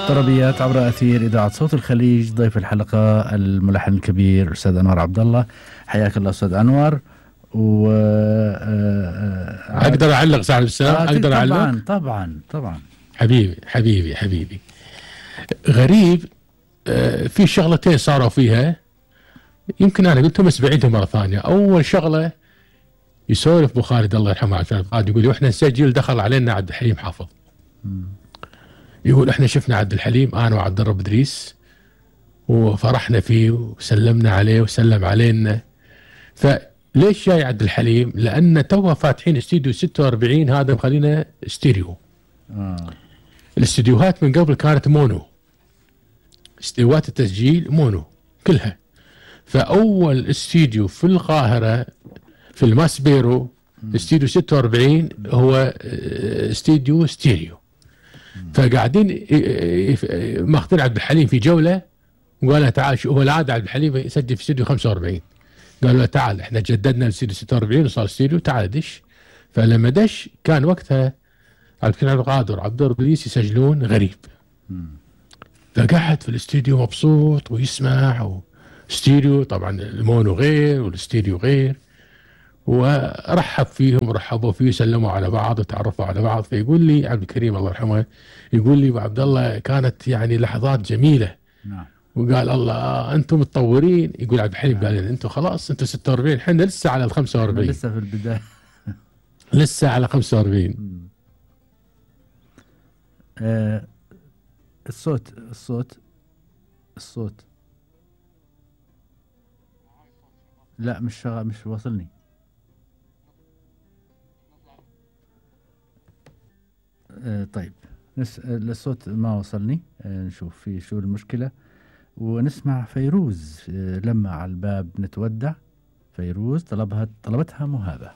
طربيات عبر أثير إذاعة صوت الخليج. ضيف الحلقة الملحن الكبير أستاذ أنور عبد الله. حياك الله أستاذ أنور. و أقدر أعلق صاحب السلام؟ أقدر أعلق؟ طبعا طبعا طبعا. حبيبي غريب. في شغلتين صاروا فيها، يمكن أنا قلتهم بس بعيدهم مرة ثانية. أول شغلة، يسولف أبو خالد الله يرحمه عشان قاعد يقول وإحنا نسجل دخل علينا عبد الحليم حافظ. يقول إحنا شفنا عبد الحليم أنا وعبد الرب إدريس وفرحنا فيه وسلمنا عليه وسلم علينا. فليش جاي عبد الحليم؟ لأن توه فاتحين استديو 46، هذا مخلينا ستيريو. الاستديوهات من قبل كانت مونو، استديوهات التسجيل مونو كلها. فأول استديو في القاهرة في الماسبيرو استديو 46 هو استديو ستيريو. فقاعدين ماخذين عبد الحليم في جولة وقال له تعال، هو العادة عبد الحليم يسجل في استديو 45، قالوا له تعال احنا جددنا الاستديو 46 وصار استديو، تعال دش. فلما دش كان وقتها عبد القادر وعبد الرب إدريس يسجلون غريب. فقعد في الاستديو مبسوط ويسمع، ستيريو طبعا المونو غير والاستديو غير، ورحب فيهم ورحبوا فيه، سلموا على بعض وتعرفوا على بعض. فيقول لي عبد الكريم الله يرحمه، يقول لي ابو عبد الله كانت يعني لحظات جميله. نعم. وقال الله انتم متطورين. يقول عبد الحليم قال لي انتم خلاص انتم 46، احنا لسه على ال 45، لسه في البدايه لسه على 45. الصوت لا مش شغال، مش واصلني. طيب الصوت ما وصلني. نشوف في شو المشكلة ونسمع فيروز. لما على الباب نتودع. فيروز طلبتها مهابة.